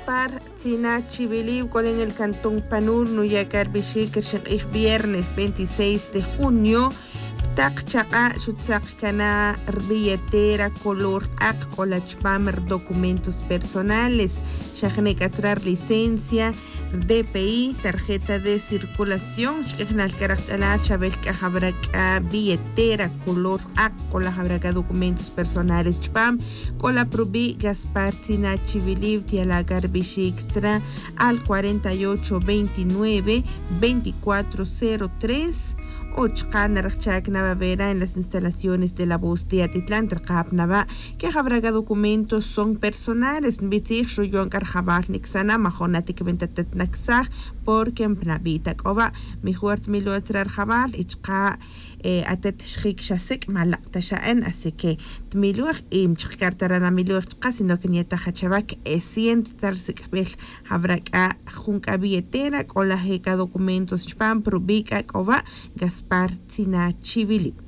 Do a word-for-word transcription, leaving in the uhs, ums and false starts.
Gaspar Tzina Chiwili, wuk'olen el cantón Panul, nuya' c'a rbixic rixin k'ij viernes veintiséis de junio. Ptak chak'a' xutzak cana' rbilletera color ak' c'o la chupam rdocumentos personales, xa jene' c'a tra rlicencia, rdpi, tarjeta de circulación. Xk'ijnal c'a rajch'alal xawel c'a jawra c'a billetera color ak', c'o la jawra c'a documentos personales chupam. C'o la prubi' Gaspar Tzina Chiwili, tiala' c'a rbixic sra al cuarenta y ocho veintinueve veinticuatro cero tres. O chaka' narajchac na wawera en las instalaciones de la voz de atitlan trkap na wa' que jawra c'a documentos son personales nbitzij, xuyon c'a rjawal nicsana majon atiquewen ta tet nacsaj. Porque npnabi' ta c'o wa' mijor tmiloj tzra rjawal y chaka' atet xjic xa sic' ma lak' ta xa'en. Así que tmiloj y mchaka' rtara' namiloj chaka' sino que nyetaj achawa' que e siente ta rsic'bil jawra c'a jun c'a billetera c'o laj e c'a documentos chupam prubi' c'a c'o wa'. Gaspar Tzina Chiwili.